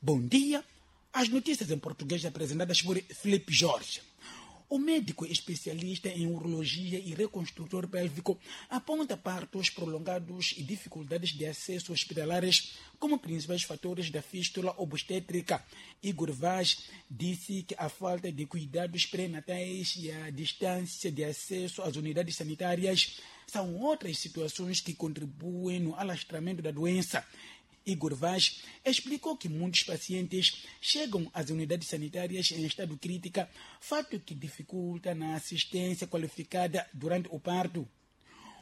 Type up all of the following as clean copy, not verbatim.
Bom dia. As notícias em português apresentadas por Felipe Jorge. O médico especialista em urologia e reconstrutor pélvico aponta partos prolongados e dificuldades de acesso hospitalares como principais fatores da fístula obstétrica. Igor Vaz disse que a falta de cuidados pré-natais e a distância de acesso às unidades sanitárias são outras situações que contribuem no alastramento da doença. Igor Vaz explicou que muitos pacientes chegam às unidades sanitárias em estado crítica, fato que dificulta na assistência qualificada durante o parto.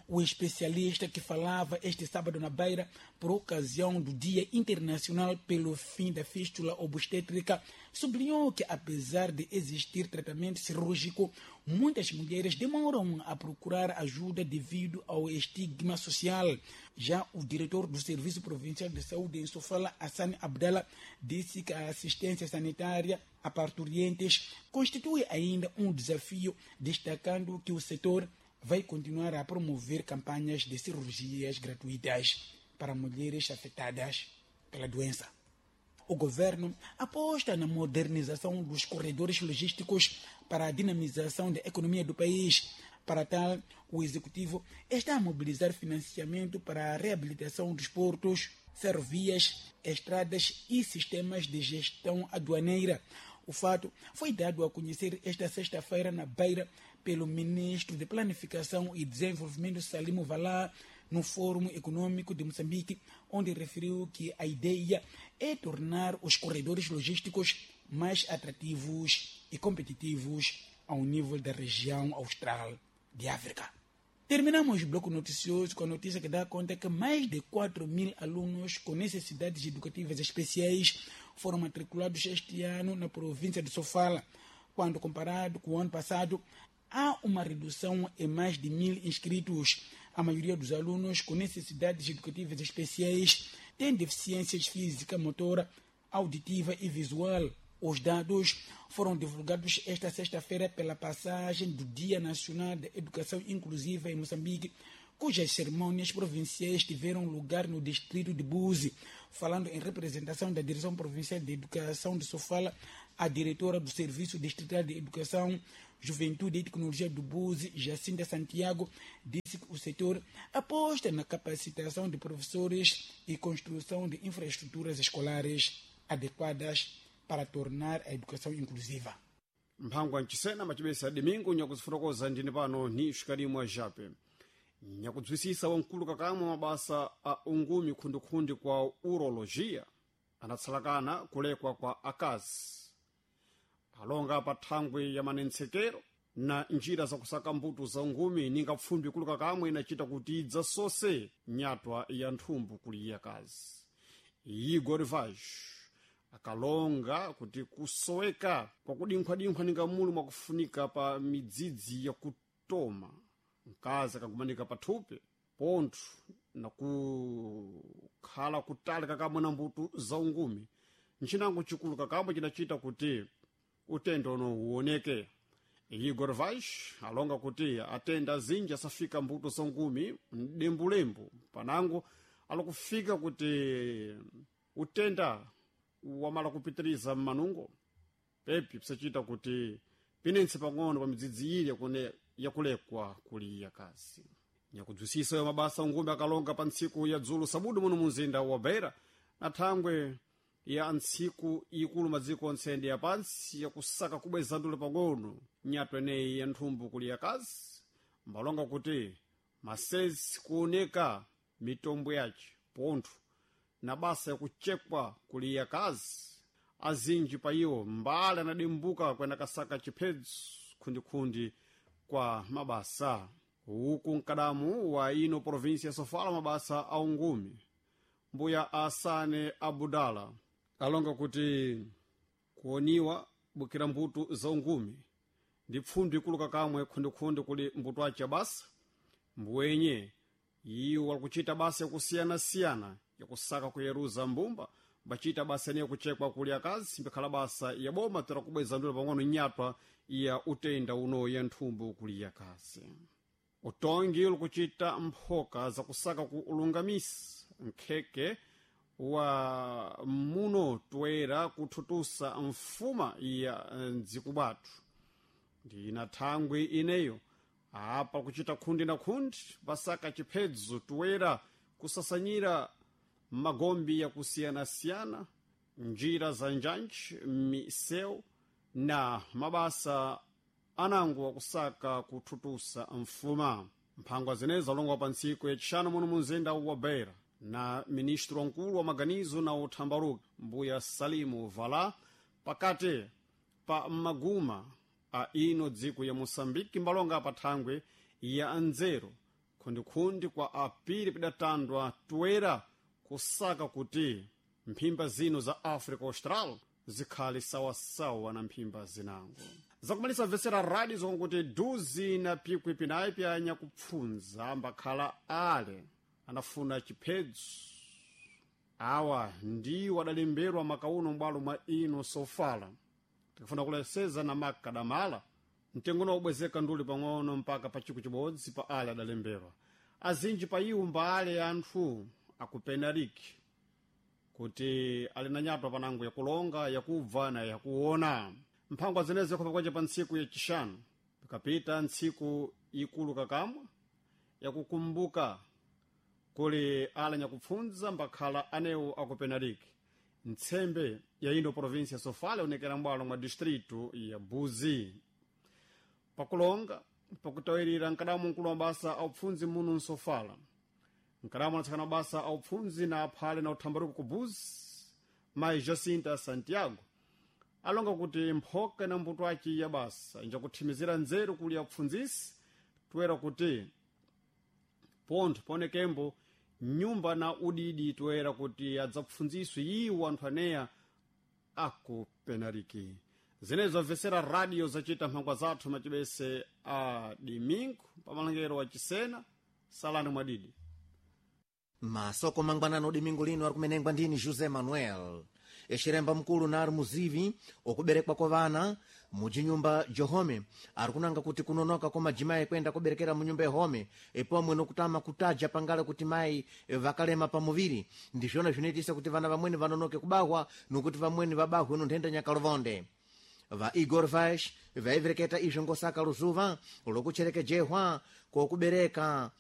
O especialista que falava este sábado na Beira, por ocasião do Dia Internacional pelo Fim da Fístula Obstétrica, sublinhou que, apesar de existir tratamento cirúrgico, muitas mulheres demoram a procurar ajuda devido ao estigma social. Já o diretor do Serviço Provincial de Saúde em Sofala, Hassan Abdallah, disse que a assistência sanitária a parturientes constitui ainda um desafio, destacando que o setor vai continuar a promover campanhas de cirurgias gratuitas para mulheres afetadas pela doença. O governo aposta na modernização dos corredores logísticos para a dinamização da economia do país. Para tal, o executivo está a mobilizar financiamento para a reabilitação dos portos, ferrovias, estradas e sistemas de gestão aduaneira. O fato foi dado a conhecer esta sexta-feira na Beira pelo ministro de Planificação e Desenvolvimento Salimo Valá no Fórum Econômico de Moçambique, onde referiu que a ideia é tornar os corredores logísticos mais atrativos e competitivos ao nível da região austral de África. Terminamos o bloco noticioso com a notícia que dá conta que mais de 4 mil alunos com necessidades educativas especiais foram matriculados este ano na província de Sofala. Quando comparado com o ano passado, há uma redução em mais de 1.000 inscritos. A maioria dos alunos com necessidades educativas especiais tem deficiências física, motora, auditiva e visual. Os dados foram divulgados esta sexta-feira pela passagem do Dia Nacional da Educação Inclusiva em Moçambique, cujas cerimônias provinciais tiveram lugar no distrito de Buzi. Falando em representação da Direção Provincial de Educação de Sofala, a diretora do Serviço Distrital de Educação, Juventude e Tecnologia do Buzi, Jacinta Santiago, disse que o setor aposta na capacitação de professores e construção de infraestruturas escolares adequadas para tornar a educação inclusiva. Mphangwa mchisena macibesa domingo nyakuzifotokoza ndine pano ni xikalimwa jape nyakudzwisisa wamkulu kakamwe mabasa a ungumi khundikhundi kwa urologia anatsalakana kulekwa kwa akazi alonga pa thangwi ya manentsekero na njira zakusaka mbuto za ungumi ninga pfumbi ikulu kakamwe inacita kuti idzasose nyatwa ya nthumbu kuli akazi. Igor Vaz akalonga kuti kusoweka kwakudinkhwadinkhwa ninga mulu mwakufunika pa midzidzi yakutoma mkazi akagumanika pathupi pontho nakukhala kutali kakamwe na mbuto za ungumi nchinango chikulu kakamwe cinacita kuti utendo uno uwoneke. Igor Vaz alonga kuti atenda azinji asafika mbuto za ungumi mdembulembu panango alakufika kuti utenda wamala kupitiriza mmanungo pepi pisacita kuti pinentse pang'ono pa midzidzi ili yakulekwa kuli yakazi. Nyakudzwisisa yo mabasa ungumi akalonga pa ntsiku ya dzulo sabudu muno munzinda wa Beira na thangwe ya ntsiku ikulu madziko onse ya pansi yakusaka kubweza ndule pang'ono nyatwa eneyi ya nthumbu kuli yakazi mbalonga kuti masezi kuoneka mitombo yace pontho na basa yakuchekwa kuli yakazi azinji pa iwo mbale anadimbuka kwenda kasaka chiphedzo khundikhundi kwa mabasa uku mkadamu wa ino provinsia ya Sofala mabasa a ungumi mbuya Asane Abudala alonga kuti kuoniwa bukira mbuto za ungumi ndi pfundu ikulu kakamwe khundikhundi kuli mbuto ace basa mbuwenye iwo walikuchita basa yakusiyanasiyana yakusaka kuyeruza mbumba mbacita basa niye kuchekwa kuli akazi mbikhala basa ya boma tera kubweza ndule pang'ono nyatwa ya utenda uno ya nthumbu kuli yakazi. Utongi ulikuchita mphoka zakusaka ku ulungamisa nkheke Wa muno toera kuthutusa mfuma ya mdziko bwathu ndina thangwi ineyo apa kuchita khundi na khundi vasaka chiphedzo toera kusasanyira magombi yakusiyanasiyana, njira za njanji, misewu na mabasa anango akusaka kuthutusa mfuma. Mphangwa zenezi zalongwa pa ntsiku yacixanu muno mu mzinda wa Beira na ministro wankulu wa maganizo na uthambaruka, mbuya Salimu Vala, pakati pa maguma a ino dziko ya Moçambique mbalonga pa thangwe ya nzeru khundikhundi kwa apiri pidatandwa toera kusaka kuti mphimba zino za Africa Austral zikhale sawasawa na mphimba zinango. Zakumalisa vesera radio zokonkuti duzi na pikwi pinayi pyanya kupfunza ambakhala ale anafuna chiphedzo. Awa ndiwo adalemberwa makauno m'bwalo mwa ino Sofala. Tikufuna kuleseza na makadamala mtengo ubwezeka nduli pang'ono mpaka pa chiku chibodzi pa ale adalemberwa. Azinji pa iwo mbaale anthu akupenariki kuti ali na nyatwa panango yakulonga, yakubva na yakuona. Mphangwa zenezi yakhopa kwace pa ntsiku yacixanu pikapita ntsiku ikulu kakamwa yakukumbuka kuli ala nyakupfunza mbakhala anewo akupenariki. Ntsembe ya ino provinsia ya Sofala ionekera m'bwalo mwa distrito ya Buzi. Pakulonga pakutawirira mkadamu mkulu wa mabasa aupfunzi muno mSofala, mkadamu anatsakana mabasa aupfunzi na aphale na uthambaruko ku Buzi, mayi Jacinta Santiago, alonga kuti mphoka na mbuto aci ya basa injakuthimizira nzeru kuli apfundzisi toera kuti pontho paonekembo nyumba na udidi toera kuti adzapfundziswe iwo anthu aneya akupenariki. Zinezo amvesera radio zacita mphangwa zathu macibese a dimingo pamalangero wa Cisena. Salani mwadidi. Masoko mangwanano domingo lino ari kumenengwa ndini José Manuel. Exiremba mkulu na ari muzivi okuberekwa kwa vana mujinyumba johome ari kunanga kuti kunonoka kwa majimayi kwenda kuberekera munyumba yahome epomwe nokutama kutaja pangale kuti mayi vakalema pamuviri ndizvona zvinoitisa kuti vana vamweni vanonoke kubahwa nokuti vamweni vabahwe nonthenda nyakalovonde. Va Igor Vaz vaivereketa izvo ngosaka luzuva lokucherekejehwa kokubereka.